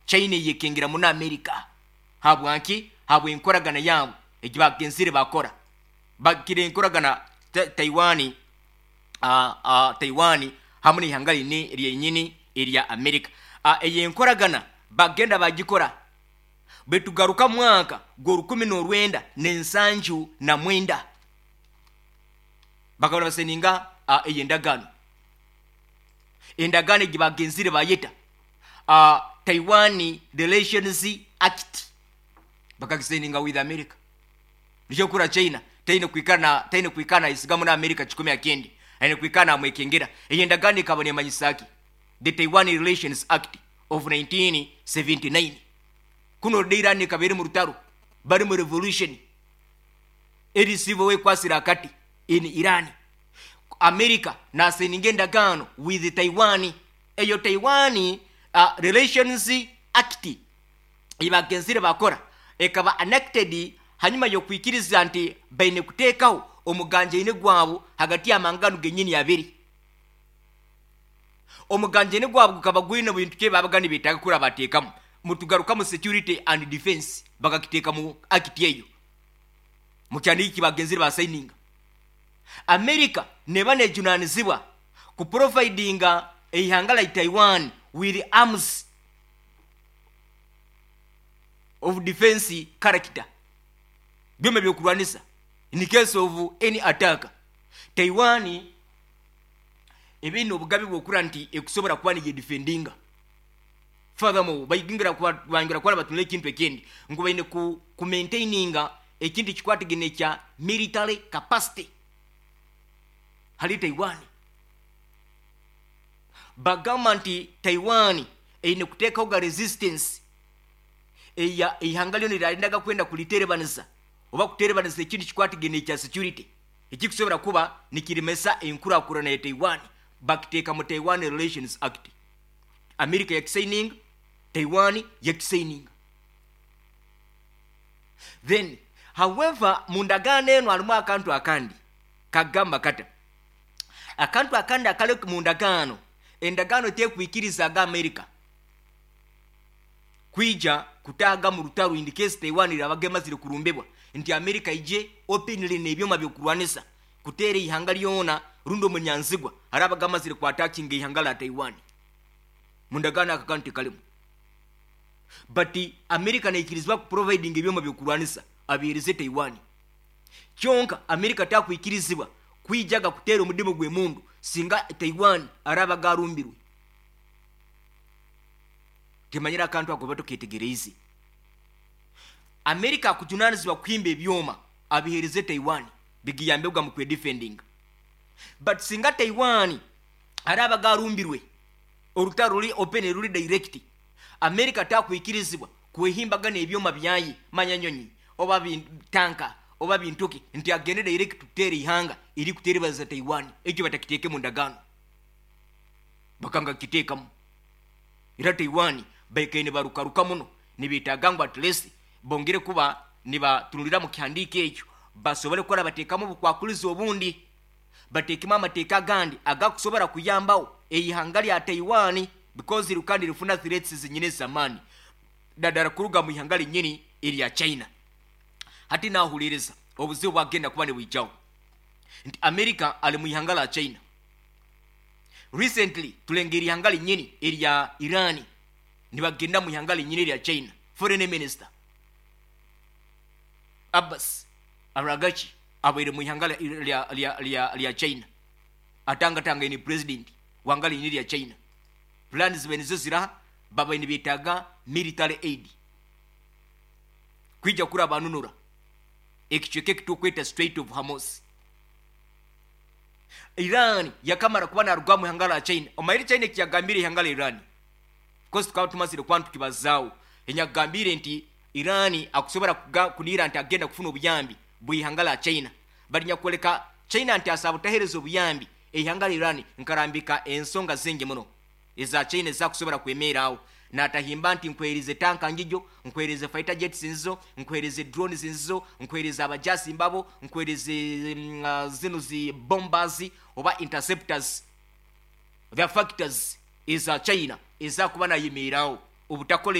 China eyekengera muno America. Habwanki? Habw'enkoragana yaabo egi baagenzire baakora. Bagira enkoragana Taiwan, Taiwan hamu n'eihanga ryenyini erya America. Eyo enkoragana bagenda bagikora baitu garuka mwaka gw'orukumi n'orwenda n'ensanju na mwenda bakaba nibasayininga eyo endagaano. Endagaano egi bagenzire bayeta Taiwan Relations Act bakagisayininga with America. Nikyo orikuhurira China taine kwikara na taine kwikara nayesiga muno America kikumi aha kindi, aine kwikara namwekengera. Eyo endagaano ekaba nemanyisa ki? The Taiwan Relations Act of 1979. Kunu oride Iran ekaba eri murutaro, bari mu revolution eri civil war ekwasire akati in Iran. America nasayininga endagaano with Taiwan. Eyo Taiwan Relations Act ei baagenzire baakora ekaba enacted hanyima y'okwikiriza nti baine kuteekaho omuganjaine gwabo hagati y'amahanga ganu genyini abiri. Omuganjaine gwabo gukaba gwine bintu ki ebi baabaga nibeetaaga kura baateekamu? Mutugarukamu security and defence bakakiteeka mu act eyo mu kyandiiki eki baagenzire baasayininga. America neeba neejunaanizibwa kuprovidinga eihanga lya Taiwan with arms of defence character, byoma ebyokurwanisa in case of any attack. Taiwan eba eine obugabe bw'okura nti ekusobora kuba neyedefendinga. Furthermore, baingira kuba nibatunula ekintu ekindi ngu baine ku maintaininga ekintu ekikwatagaine ekya military capacity hali Taiwan. Bagamba nti Taiwan eine kuteekaho ga resistance eya eihanga ryona eryarendaga kwenda kuriterebanisa oba kuterebanisa ekintu ekikwatagaine ekya security ekirikusobora kuba nikiremesa enkurakurana ya Taiwan bakiteeka mu Taiwan Relations Act. America yakisayininga, Taiwan yakisayininga. Then however mu ndagaano enu harimu akantu akandi kagamba kata, Akantu akandi akari mu ndagaano, endagaano tekwikirizaga America kwija kutaaga mu rutaro in case Taiwan erabaga emazire kurumbibwa, nti America ije openly n'ebyoma by'okurwanisa kuteera eihanga ryona rundi omunyanzigwa arabaga amazire ku attackinga eihanga rya Taiwan. Mu ndagaano ako akantu tikarimu. But America neikirizibwa ku providinga ebyoma by'okurwanisa abihereze Taiwan. Kyonka Amerika takwikirizibwa kwijaga kuteera omudimu gw'emundu singa Taiwan araabaga arumbirwe. Timanyire akantu ako oba toketegereize. Amerika akujunanizibwa kuhimba ebyoma abihereze Taiwan bigiyambebwa mu kwedifendinga. But singa Taiwan araabaga arumbirwe, orutaro ruri open ruri direct, Amerika takwikirizibwa kwehimbaga n'ebyoma byaye, manya nyonyi, oba tanka, oba bintu ki, nti agende direct kuteera eihanga erikuteeribariza Taiwan. Ekyo batakiteeke mu ndagaano. Bakanga kukiteekamu. Era Taiwan baikaire nibarukaruka muno, nibeetaaga ngu at least bongere kuba nibatunulira mu kihandiiko ekyo basobole kukora bateekamu obukwakurizo obundi, bateekemu amateeka agandi agakusobora kuyambaho eihanga rya Taiwan because rikaba nirifuna threats zenyini ez'amaani nadara kuruga mu ihanga rinyini erya China. Hati nahuririza obuzibu bwagenda kuba nibwijaho nti America ari mu ihanga rya China. Recently turengeire ihanga rinyini erya Iran nibagenda mu ihanga rinyini erya China. Foreign Minister Abbas Araghchi abaire mu ihanga rya China atangatangaine President wanga rinyini erya China. Plan zibaire nizo ziraha babaire nibetaaga military aid kwija kurabanunura ekicweka eki turikweta Strait of Hormuz. Iran yakamara kuba naruga omu ihanga rya China. Omanyire China eki yagambire ihanga rya Iran? Coz tukaba tumazire kuba nitukibazaaho. Enyakugambire nti Iran akusobora kuniira nti agenda kufuna obuyambi bw'eihanga rya China. Bari nyakworeka China nti asobola butahereza obuyambi eihanga rya Iran nkarambika ensonga zingi muno eza China ezakusobora kwemeeraho. Natahimba nti nkuheerize tanka ngijo, nkuheerize fighter jets nzizo, nkuheerize drones nzizo, nkuheerize abajaasi mbabo, nkuheerize zinu zi bombers oba interceptors. The factors eza China ezakuba nayemeeraho obutakora.